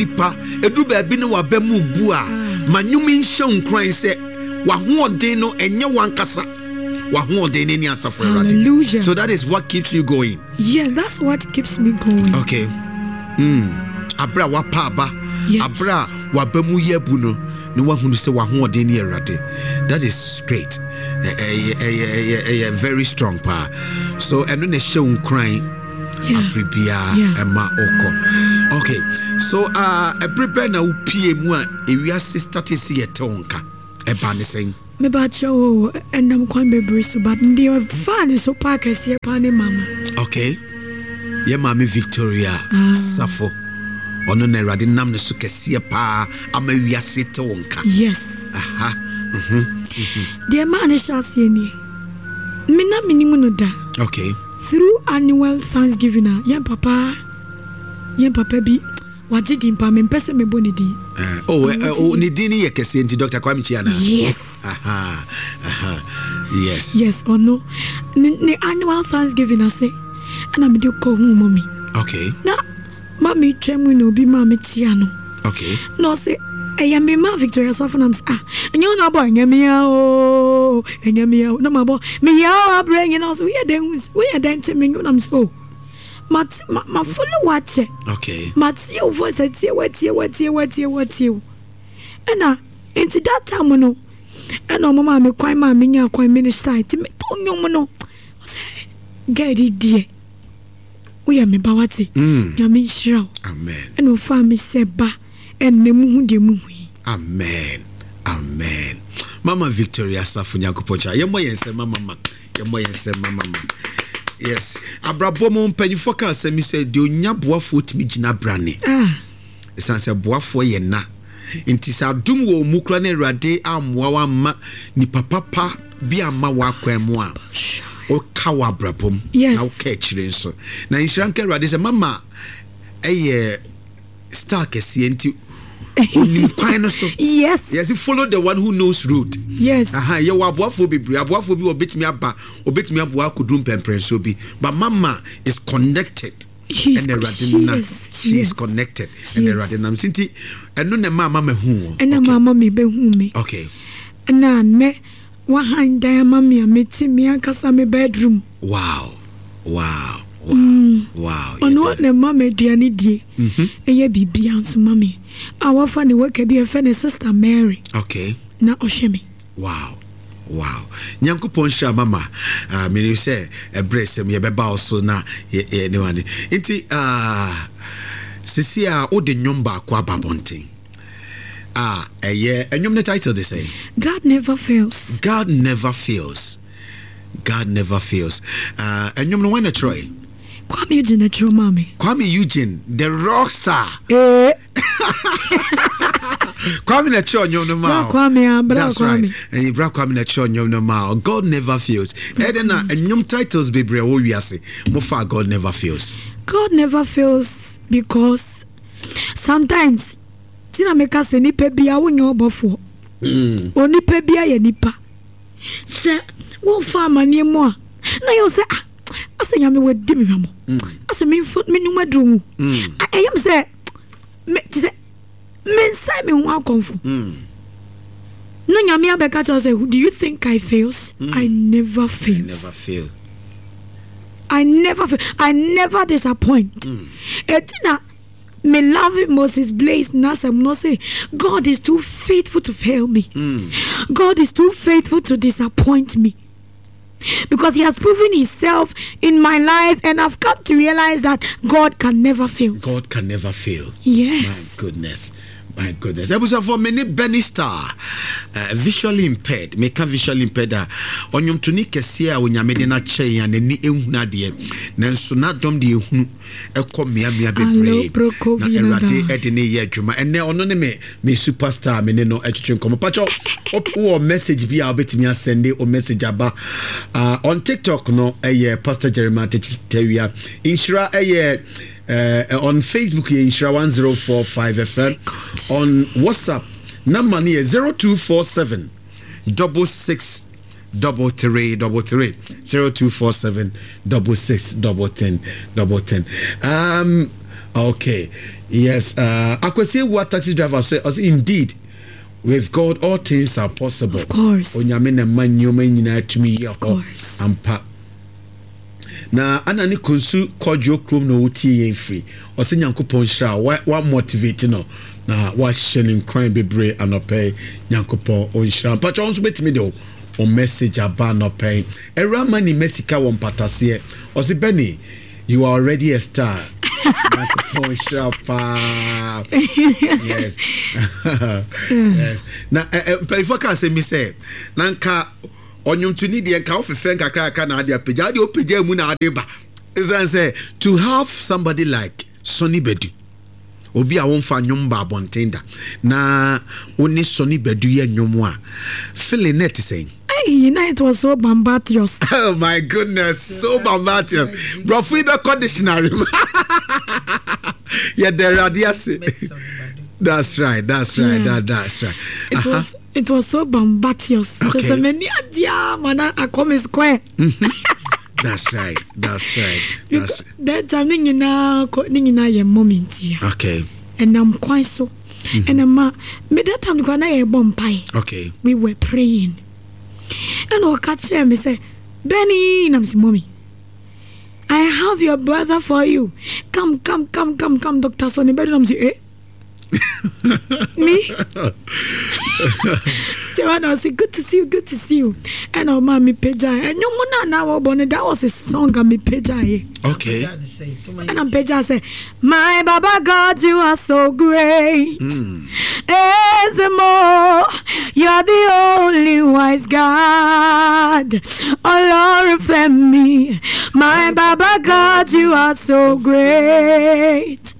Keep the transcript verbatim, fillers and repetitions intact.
Nipa ɛdu baabi ne waba mu bu a, ma nnwom nhyɛ wo nkuran sɛ w'ahoɔden no ɛnyɛ wankasa w'ahoɔden ne ne Asafo Awurade. Hallelujah. So that is what keeps you going. Yeah, that's what keeps me going. Okay mm. Aberɛ a wapa aba, Yes. aberɛ a waba mu yɛ abu no na wahunu sɛ w'ahoɔden ne Awurade, that is great. Ɛ- ɛyɛ ɛyɛ ɛyɛ ɛyɛ very strong paa. So ɛno na ɛhyɛ wo nkuran Yeah. abere biara Yeah. ɛma wokɔ. Okay, so uh, ɛbere bɛn na wopie mu a ewiase start sɛ yɛte wo nka? Ɛba ne sɛn? Mebakyerɛ wo, ɛnam kwan bebree so, but deɛ faa ne so paa kɛseɛ paa ne mama. Okay, yɛ Maame Victoria Ah. Safo, ɔno na Awurade nam ne so kɛseɛ paa ama wiase te wo nka. Yes. Aha mhm Deɛ maa ne hyɛ aseɛ nie, me na menim no da. Okay through annual thanksgiving a yɛn papa yɛn papa bi wagye din pa, mempɛ sɛ mebɔ ne din. Uh, oh, uh, oh, ne din no yɛ kɛseɛ nti Doctor Kwame Kyia na. Yes. Aha, aha. Yes. Yes, ɔno ne ne annual thanksgiving ase ɛna mede kɔ hu mɔmi. Okay na mami twɛ mu na obi maa me kyia no. Okay na ɔsɛ ɛyɛ me ma Victoria Safo, nam sɛ, "Ah, ɛnyɛ wo na abɔ, ɛnyɛ me a o, ɛnyɛ me a o," na mabɔ mehia o abrɛ nyina. Ɔsɛ, "Woyɛ dɛn hu? Woyɛ dɛn te me?" Nam sɛ, "O, mate ma ma follow wakyɛ." Okay matie wo voice, atie watie watie watie watie wo. Ɛna nti that time no ɛna ɔmo maa me kwan maa me nya kwan minister, nti meto nnwom no, ɔsɛ, "Girl deɛ, woyɛ me ba, wate?" Mm. Nyame nhyira wo. Amen. Ɛna ɔfaa me sɛ ba, ɛnnɛ muhu deɛ muhu yi. Amen, amen. Mama Victoria Safo, Nyankopɔn kyɛ. Yɛmmɔ yɛn nsɛm ma mama, yɛmmɔ yɛn nsɛm ma mama. Yes, abrabɔ mu mpanyinfoɔ ka asɛm yi sɛ deɛ onya boafoɔ tumi gyina brane. Ah. Ɛsiane sɛ boafoɔ yɛ na nti sɛ adom wɔ mu kora na Awurade ammoa wo amma nipa papa bi amma w'akwan mu a, woka wɔ abrabɔ mu Yes. na woka akyire nso. Na nhyira nka Awurade sɛ mama ɛyɛ star kɛseɛ nti onim kwan no so. Yes yɛsi follow the one who knows road. Yes aha, yɛwɔ aboafoɔ bebree, aboafoɔ bi wɔ obetumi aba, obetumi aboa akɔduru mpɛmpɛnsoɔ bi, but mama is connected. He's- Ɛna Awurade she nam is, she she is is. connected. She ɛna is. Awurade nam so nti ɛno na ɛma mama hu wɔ. Ɛna okay. maama me bɛhu me. Okay ɛna nnɛ wahan dan ama me a mete me ankasa me bedroom. wow wow wow wow Ɔno na ɛma me aduane die. Mhm. Ɛyɛ biribia nso ma me a wafa ne worker bi a ɛfɛ ne Sister Mary okay na ɔhwɛ me. wow wow Nyankopɔn hyira mama. uh, menim sɛ ɛberɛ sɛm yɛbɛba wo so na yɛ- yɛ- ne wane nti uh, sisi a wode nnwom baako aba abɔnten a ɛyɛ ɛnwom ne title de sɛ? God Never Fails. God Never Fails, God Never Fails. uh, ɛnwom no wane na kyerɛe? Kwame Eugene na kyerɛ maa me. Kwame Eugene, the rock star. Ee. Kwame na kyerɛ ɔnwom no ma Bra wo. Kwame, ah, bra. That's Kwame. right. Ɛyɛ bra Kwame na kyerɛ ɔnwom no ma wo. God Never Fails. Ɛdɛ na ɛnwom titles bebree a ɛwɔ wiase, mofa God Never Fails? God never fails because sometimes ti na meka sɛ nipa bia wonyɛ ɔbɔfoɔ. Mm. Onipa bia yɛ nipa sɛ wofa amanneɛ mu a na yɛwo sɛ, "Ah, asɛ Nyame wadi me hwamɔ, asɛ memfa menum aduro ngu." Mm. Ah, ɛyɛ me sɛ me te sɛ mensae me ho akɔmfo. Mm. Na Nyame abɛka kyerɛ wo sɛ, "Do you think I fails? I never fails." Never fail. I never fail. I never disappoint. Ɛti na me love Moses Blaze n'asɛm no say, "God is too faithful to fail me. God is too faithful to disappoint me. Because he has proven himself in my life and I've come to realize that God can never fail." God can never fail. Yes. My goodness. My goodness. Ebusuafo, me ne Benny Star, uh, visually impaired. Meka visually impaired a, ɔnwomtoni kɛseɛ a Onyame de no akyɛ yɛn a n'ani ehunu adeɛ. Nanso n'adɔm de ehunu ɛkɔ mmeammea bebree. Alo, Na Awurade ɛde ne yɛ adwuma. Ɛnɛ ɔno ne me me superstar, me ne no ɛtwetwe nkɔmmɔ. Pakyɛ, wowɔ message bi a wobɛtumi asɛnde o message aba. Uh, on TikTok no ɛyɛ Pastor Jeremiah Tewia. Nhyira ɛyɛ uh, on Facebook yɛ Nhyira one zero four five F M. On WhatsApp number no yɛ zero two four seven double six double three double three, zero two four seven double six double ten double ten. Um, okay. Yes, uh, Akwesi Ewua taxi driver say, ɔsɛ indeed with God all things are possible. Of course. Onyame na ma nneɛma nyinaa tumi yɛ hɔ. Course. Ampa. Na ana ne konsu kɔdwo kurom na wotie yɛn firi. Ɔsɛ Nyankopɔn hyira wa wa motivate no na wahyɛ ne nkran bebree anɔpɛ yi. Nyankopɔn ɔnhyira. Mpatwa nso bɛtumi de o message aba anɔpɛ yi. Ɛwura ma ne mɛsika wɔ mpataseɛ. Ɔsɛ Benny, you are already a star. Nyankopɔn hyira paa. Yes. yes. Na ɛ ɛ mpanyinfoɔ ka asɛm bi sɛ na nka ɔnwontoni deɛ nka wofefɛ nkakrakra na ade apagya ade opagya mu na ade ba ɛsiane sɛ to have somebody like Sonny Badu obi a womfa nnwom ba abɔnten da na wo ne Sonny Badu yɛ nnwom a feeling net sɛn. Hey, na it was so bombardous. Oh my goodness, so bombardous. Brɔfo yi bɛkɔ dictionary mu. Yɛda Awurade ase. That's right, that's right, Yeah. that, that's right. It Aha. was it was so bombardous. Okay. Just many idea man I come square. That's right, that's right. That's Because that time ne nyinaa kɔ ne nyinaa yɛ moment ya. okay, Ɛnam kwan so. Ɛna ma me that time kora na yɛbɔ mpae. okay. We were praying. Ɛna ɔka kyerɛ me sɛ Benny na me sɛ mommy. I have your brother for you. Come, come, come, come, come, Doctor Sonny Badu. Na me sɛ eh? Me? Tiwa I said, good to see you, good to see you. And oh, mommy, pagya. And you know, now, that was a song, I me pagya. Okay. And I'm pagya say, my Baba God, you are so great. Mm. Ezemo, you're the only wise God. Oh Lord, me. My Baba God, you are so great.